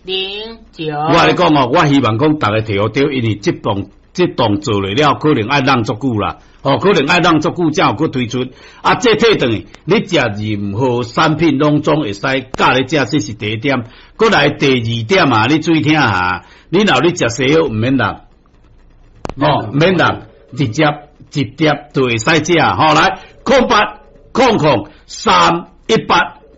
09。我共你講哦，我希望講逐家提予著，因為這檔做落了，可能愛弄足久啦，哦，可能愛弄足久才有閣推出。啊，這退轉去，你食任何產品攏總會使佮咧食，這是第一點。閣來第二點啊，你注意聽下，你若你食西藥毋免落，哦，毋免落，直接一碟就會使食。吼，來0800 318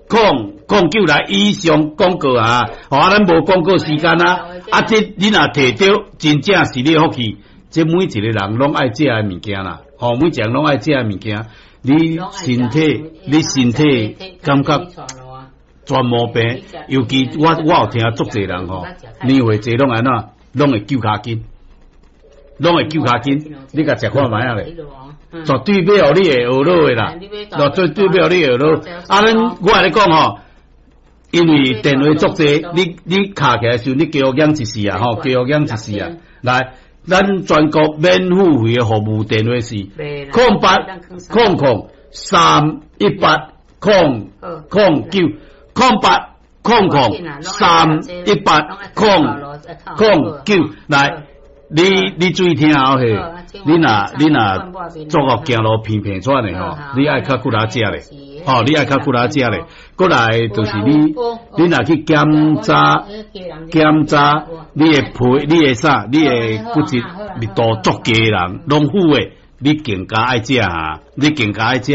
009來以上廣告啊，吼，啊，咱無廣告時間啊，啊，這你若提著，真正是你的福氣。這每一個人攏愛食的物件啦，吼，每一個人攏愛食的物件，你身體感覺全無病，尤其我有聽足濟人吼，年歲濟攏按怎，攏會揪跤筋，攏會揪跤筋，你共食看覓仔咧，絕對欲予你會懊惱的啦，絕對欲予你會懊惱。啊，咱我共你講吼，因為電話足濟，你敲起來時陣，你加予減一四啊，吼，加予減一四啊，來。咱全國免付費的服務電話是0800 318 009 0800 318 009來，你注意聽哦嘿，你若做個行路偏偏喘的吼，你愛較骨力食咧，吼，你愛較骨力食咧。閣來就是你若去檢查檢查你的皮，你的啥，你的骨質密度足低的人，攏好的，你更加愛食啊，你更加愛食。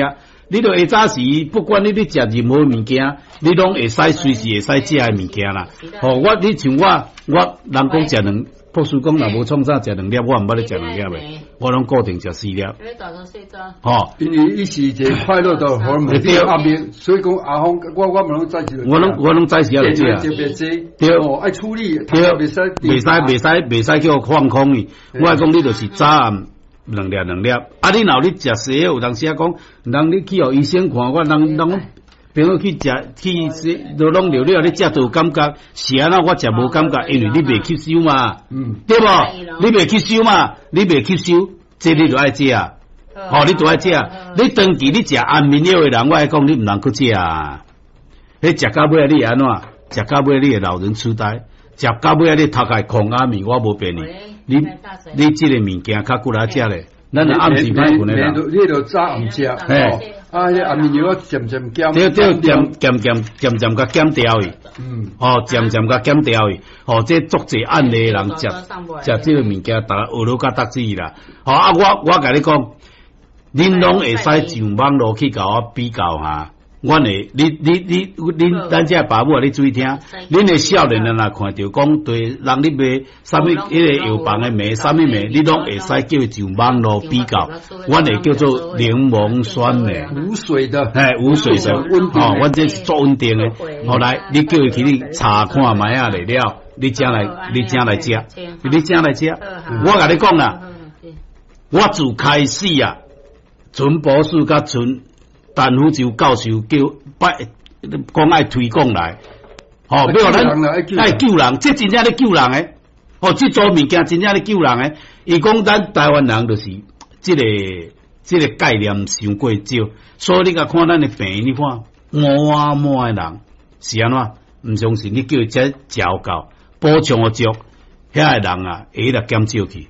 你著下早時，不管你咧食任何物件，你攏會使隨時會使食的物件啦。吼，你像我，我人講食兩，博士講若無創啥食兩粒，我毋捌咧食兩粒的，我攏固定食四粒。吼，因為伊是一個快樂的荷爾蒙，壓力，所以講阿峰，我嘛攏早時。我攏早時仔就食。特別濟，對，哦，愛處理，對，袂使叫放空去。我講你就是早暗兩粒兩粒，啊！你若有咧食西藥，有當時仔講，人你去予醫生看，我人人朋友去食去食，都攏了了，你食都有感覺，是按怎我食無感覺，因為你袂吸收嘛，對無？你袂吸收嘛？你袂吸收，這你就愛食，吼，你就愛食。你長期你食安眠藥的人，我愛講你毋通閣食啊！彼食到尾你會按怎？食到尾你會老人痴呆，食到尾你頭殼空阿面，我無騙你。你這個物件較骨力食咧，咱若暗時歹睏的人，你著早暗食，嘿，啊，彼安眠藥漸漸減，對對，漸漸漸漸漸共減掉去，哦，漸漸共減掉去，哦，這足濟案例的人食食這個物件，逐家學了甲得志啦。吼啊，我共你講，恁攏會使上網路去共我比較哈。阮會，你你你恁咱這爸母啊，你注意聽，恁的少年人若看著講對人咧賣啥物彼個藥房的名，啥物名，你攏會使叫伊上網路比較。阮會叫做檸檬酸鎂，無水的，嘿，無水的，吼，阮這是足穩定的。後來你叫伊去你查看覓仔咧了，你才來，你才來食，你才來食。我共你講啦，我自開始啊，陳博士佮陳陳福州教授叫拜講愛推廣來，吼，欲咱愛救人，這真正咧救人的，吼，這組物件真正咧救人的。伊講咱台灣人就是這個概念傷過少，所以你共看咱的病院，你看滿滿的人是按怎？毋相信你叫伊食食有夠，補充予足，遐个人啊會來減少去。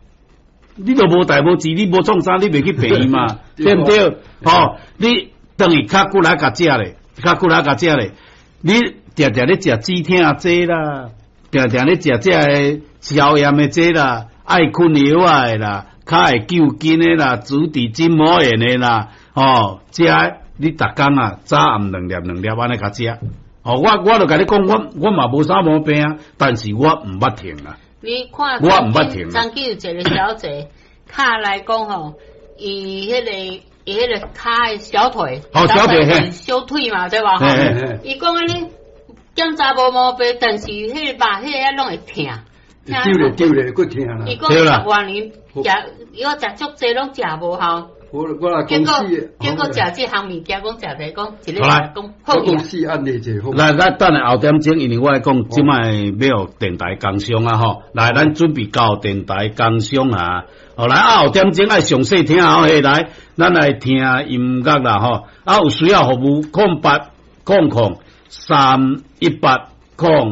你都無代無誌，你無創啥，你袂去病院嘛？對毋對？吼，你轉去較骨力共食咧，較骨力共食咧。你定定咧食止痛劑啦，定定咧食這个消炎的劑啦，愛睏藥仔的啦，較會救筋的啦，足底筋膜炎的啦，吼，這你逐工啊，早暗兩粒兩粒按呢共食。吼，我就共你講，我嘛無啥毛病啊，但是我毋捌停啊。你看，我毋捌停。曾經有一個小姐，敲來講吼，伊彼個跤的小腿，哦，小腿嘿，小腿嘛，對吧？伊講按呢檢查無毛病，但是彼個肉彼個攏會疼。丟咧丟咧，閣疼啦。伊講十外年食，伊講食足濟攏食無效。我我來結果結果食這項物件，講食者講一個講好。我公司案例者好。來，咱等下後點鐘，因為我愛講，這擺欲予電台工商啊吼。來，咱準備交電台工商啊。好來啊，後點鐘愛詳細聽哦。嘿，來，咱來聽音樂啦吼。啊，有需要服務，0800 318 0。